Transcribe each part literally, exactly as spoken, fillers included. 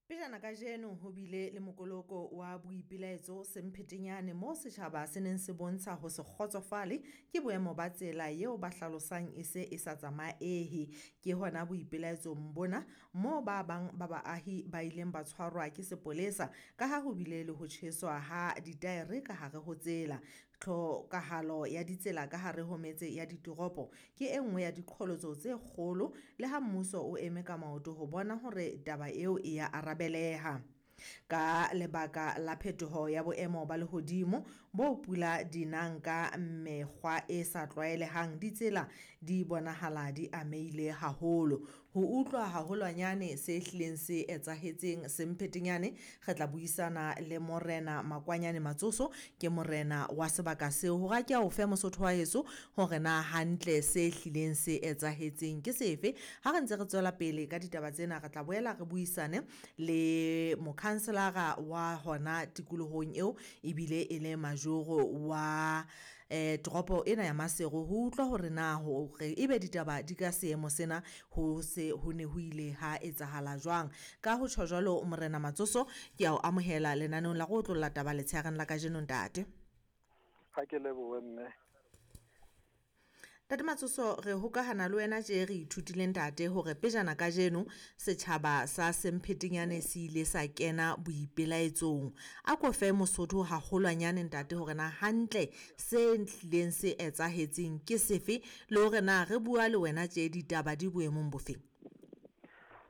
Pejana kajeno ho bile le mokoloko wa boipelaetso Semphetenyane moo setjhaba se neng se bontsha ho se kgotsofale ke boemo ba tsela eo ba hlalosang e se e sa tsamaehe. Ke hona boipelaetsong bona moo ba bang ba baahi ba ileng ba tshwarwa ke sepolesa ka ha ho bile le ho tjheswa ha ditaere ka hare ho tsela. Tlhokahalo ya ditsela ka hare ho metse ya ditoropo ke e nngwe ya diqholotso tse kgolo le ha mmuso o eme ka maoto ho bona hore taba eo e ya arabeleha. Ka lebaka la phetoho ya boemo ba lehodimo bo pula di nang ka mekgwa e sa tlwaelehang, ditsela di bonahala di amehile haholo. Ho utlwa haholwanyane se hlileng se etsahetseng Semphetenyane, re tla buisana le Morena Makwanyane Matsoso, ke morena wa sebaka seo, hore a ke a o fe Mosotho wa heso hore na hantle se hlileng se etsahetseng ke sefe. Ha re ntse re tswela pele ka ditaba tsena, re tla boela re buisane le mokhanselara wa hona tikolohong eo ebile e le majoro wa eh toropo ena ya Maseru, ho utlwa hore na hore ebe ditaba di ka seemo sena ho se ho ne ho ile ha etsahala jwang. Ka ho tjho jwalo Morena Matsoso, ke a o amohela lenaneong la go otlolla taba letshehareng la kajeno ntate. Ha ke lebohe mme. Ntate Matsoso, re hokahana le wena tje re ithutile ntate hore pejana kajeno setjhaba sa Semphetenyane se ile sa kena boipelaetsong. A ko fe Mosotho haholwanyane ntate hore na hantle se hlileng se etsahetseng ke sefe, le hore na re bua le wena tje ditaba di boemong bofeng.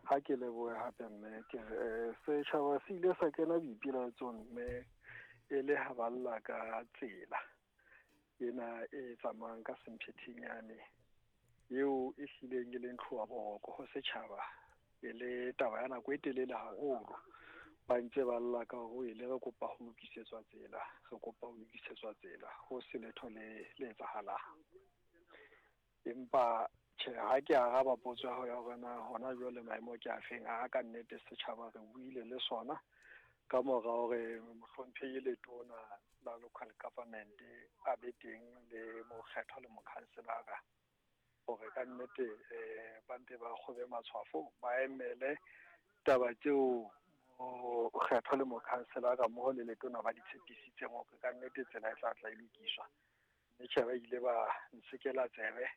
Ha ke lebohe hape mme, ke re setjhaba se ile sa kena boipelaetsong mme e le ha ba lla ka tsela ena e tsamayang ka Semphetenyane eo e hlileng e leng tlhoba boroko ho setjhaba, e le taba ya nako e telele haholo. Ba ntse ba lla ka hore ele re kopa ho lokisetswa tsela, re kopa ho lokisetswa tsela, ho se letho le le etsahalang. Empa tjhe, ha ke araba potso ya hao ya hore na hona jwale maemo ke afeng, a ka nnete setjhaba re buile le sona ka mora hore mohlomphehi letona la local government a be teng le mokgethwa le mokhanselara, hore ka nnete eh ba mpe ba kgobe matshwafo, ba emele taba tseo mokgethwa le mokhanselara mmoho le letona ba di tshepisitseng hore ka nnete tsela e tla tla e lokiswa. Mme tjhe, ba ile ba nsekela tsebe,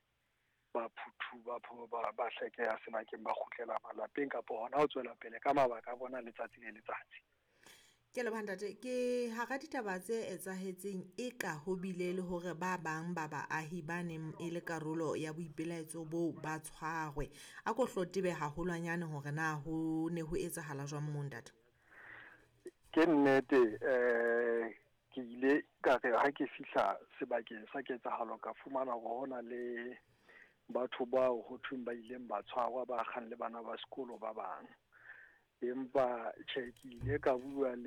ba phuthu ba ba ba hlekeha sebakeng, ba kgutlela malapeng kapo hona ho tswela pele ka mabaka a bona letsatsi le letsatsi. Ke leboha ntate. Ke hara ditaba tse etsahetseng e ka ho bile le hore ba bang ba baahi ba neng e le karolo ya boipelaetso boo ba tshwarwe. A ko hlo tebe haholwanyane hore na ho ne ho etsahala jwang moo ntate. Ke nnete, eh ke ile ka re ha ke fihla sebakeng sa ketsahalo ka fumana hore hona le batho bao ho thweng ba ileng ba tshwarwa ba kgang le bana ba sekolo ba bang. Empa tjhe, ke ile ka bua le